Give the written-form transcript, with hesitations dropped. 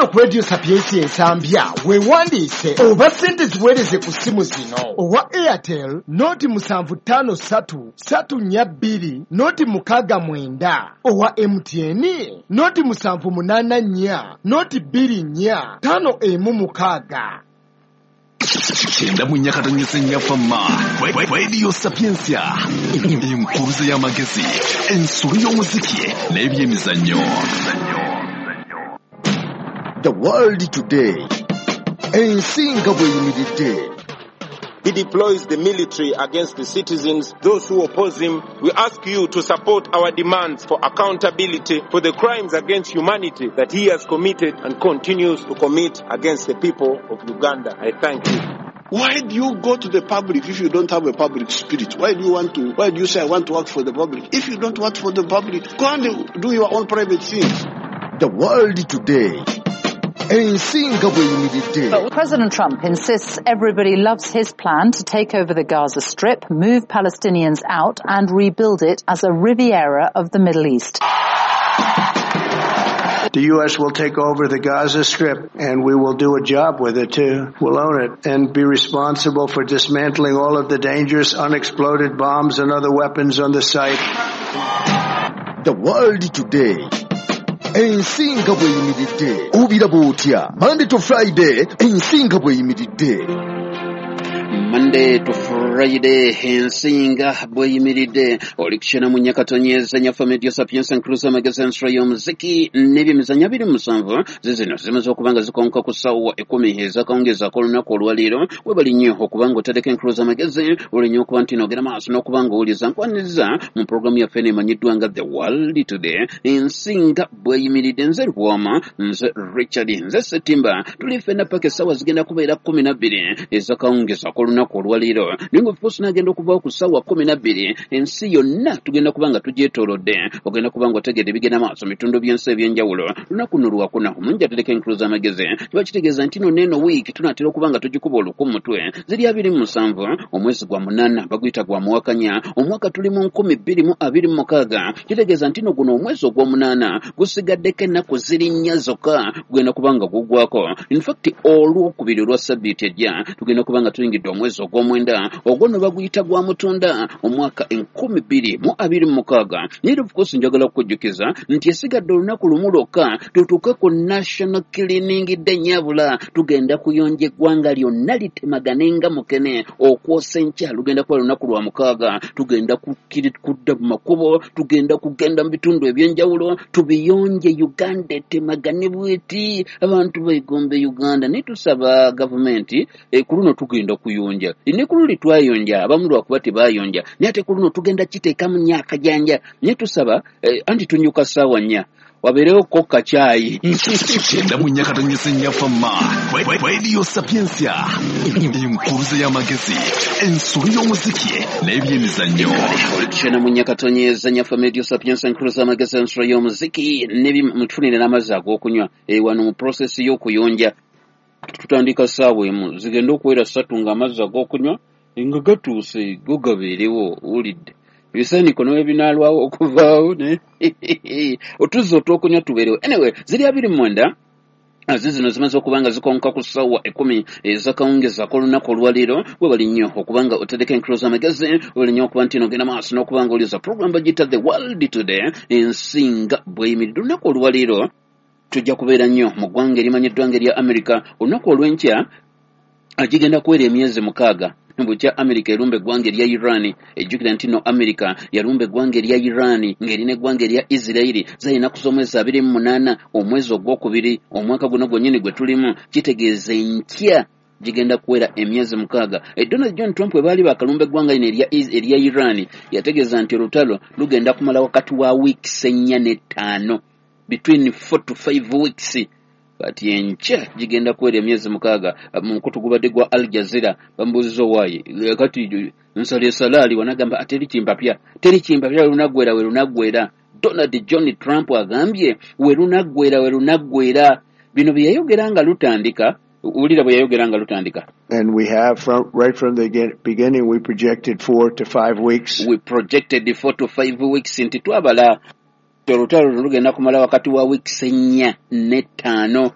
Wano ku Radio Sapientia Ensambya weewandiise oba ssente ziweereze ku ssimu zino: owa Airtel 075 342 069, owa MTN 0784 024 516. 94.4 Fama Radio Sapientia, enkuluze y'amagezi, ensolo y'omuziki n'ebyemizannyo. The World Today, ensi nga bw'eyimiridde. He deploys the military against the citizens, those who oppose him. We ask you to support our demands for accountability for the crimes against humanity that he has committed and continues to commit against the people of Uganda. I thank you. Why do you go to the public if you don't have a public spirit? Why do you want to, why do you say I want to work for the public? If you don't work for the public, go and do your own private things. The World Today, ensi nga bw'eyimiridde. But President Trump insists everybody loves his plan to take over the Gaza Strip, move Palestinians out and rebuild it as a Riviera of the Middle East. The U.S. will take over the Gaza Strip and we will do a job with it too. We'll own it and be responsible for dismantling all of the dangerous unexploded bombs and other weapons on the site. The World Today, ensi nga bw'eyimiridde, obiraba otya? Monday to Friday, ensi nga bw'eyimiridde. Monday to Friday, ensi nga bweyimiridde, oli kukyena mu nyakatonyeza nyaffe Media Sapientia, enkuluza amagezi, ensula y'omuziki n'ebyemizannyo. 27 zizino zimaze okuba nga zikonka ku ssaawa 10 ezakawungeezi ak'olunaku olwaleero. Webali nnyo okuba nga oteddeko enkuluza amagezi, oli nnyo okuba nti nogera maaso n'okuba nga owuliriza. Nkwaniriza mu pulogulaamu yaffe eno emanyiddwa nga The World Today, ensi nga bweyimiridde. Nze Lwoma, nze Richard, nze Setimba, tuli ffenna paka essaawa zigenda kubeera 12 ezakawungeezi ak'olunaku olwaleero. Naye nga of course nagenda okuvaawo ku ssaawa 12, ensi yonna tugenda kuba nga tugyetoolodde, ogenda kuba nga otegedde ebigenda maaso mu bitundu by'ensi ebyenjawulo. Lunaku nno lwakuna, omungi atereka enkulu z'amagezi, kiba kitegeeza nti no neeno wiiki tunaatera okuba nga tugikuba oluku mu mutwe. Ziri 27 omwezi gwa 8, baguyita gwa muwakanya, omwaka tuli mu 2026. Kitegeeza nti no guno omwezi ogw'omunaana gusigaddeko ennaku ziri 4 zokka, gugenda kuba nga guggwako. In fact, olwokubiri olwa sabbiiti ejja tugenda kuba nga tuyingidde omwezi ogw'omwenda, ogwo nno baguyita gwa mutunda, omwaka 2026. Naye of course njagala kukujjukiza nti esigadde olunaku lumu lwokka tutuuke ku National Cleaning Day. Nyabula tugenda kuyonja eggwanga lyonna litemagane nga mukene okwosa enkya. Lugenda kuba lunaku lwa mukaaga, tugenda kudda mu makubo, tugenda kugenda mu bitundu ebyenjawulo tubiyonje, Uganda etemagane bweti, abantu begombe Uganda. Naye tusaba gavumenti, ku luno tugenda kuyonja, ne ku luli twayonja, abamu lwakuba tebayonja, naye ate ku luno tugenda kiteekamu nnyo akajanja. Naye tusaba, anti tunyuka ssaawa 4, wabeerewo ko kacaayi. 94.4 Fama Radio Sapientia, enkuluze y'amagezi, ensolo y'omuziki n'ebyemizannyo. Olitukyena mu nyakatonyeza nyaffe Radio Sapientia, enkuluza amagezi, ensolo y'omuziki mutufunire n'amazzi ag'okunywa. Wano mu process y'okuyonja tutandika ssaawa 1, zigenda okuwera 3 ng'amazzi ag'okunywa nga gatuuse, go gabeerewo. Owulidde ebisaaniko ne binaalwawo okuvaawo, ne otuzzi otw'okunywa tubeerewo. Anyway, ziri 29 zino zimaze okuba nga zikonka ku ssaawa 10 ezakawungezi ak'olunaku olwaleero. Webali nnyo okuba nga otereka enkulu z'amagezi, webali nnyo okuba nti nogenda maaso n'okuba nga oliza program bagiyita The World Today, ensi nga bweyimiridde. Olunaku olwaleero tujja kubeera nnyo mu ggwanga erimanyiddwa nga erya America. Olunaku olw'enkya gigenda kuwera emyezi 6 bukya America erumba eggwanga erya Iran. Ejjukira nti no America yalumba eggwanga erya Iran ng'erina eggwanga erya Isirairi zali ennaku z'omwezi 28 omwezi ogwokubiri omwaka guno gwennyini gwe tulimu. Kitegeeza enkya gigenda kuwera emyezi 6. Donald John Trump bwe baali bakalumba eggwanga lino erya Iran, yategeeza nti olutalo lugenda kumala wakati wa weeks 4 ne 5, between 4 to 5 weeks. Kati enkya gigenda kuwera emyezi 6. Mu mukutu gubadde gwa Al Jazeera bamubuuziza, owaaye kati nsala esalaali wanagamba teri kimpapya, teri kimpapya, werunaggwera werunaggwera. Donald John Trump agambye werunaggwera werunaggwera. Bino bye yayogera nga lutandika, wulira bwe yayogera nga lutandika. And we have from right from the beginning, we projected 4 to 5 weeks. We projected 4 to 5 weeks, nti twabala olutalo lugenda kumala wakati wa weeks 4 ne 5.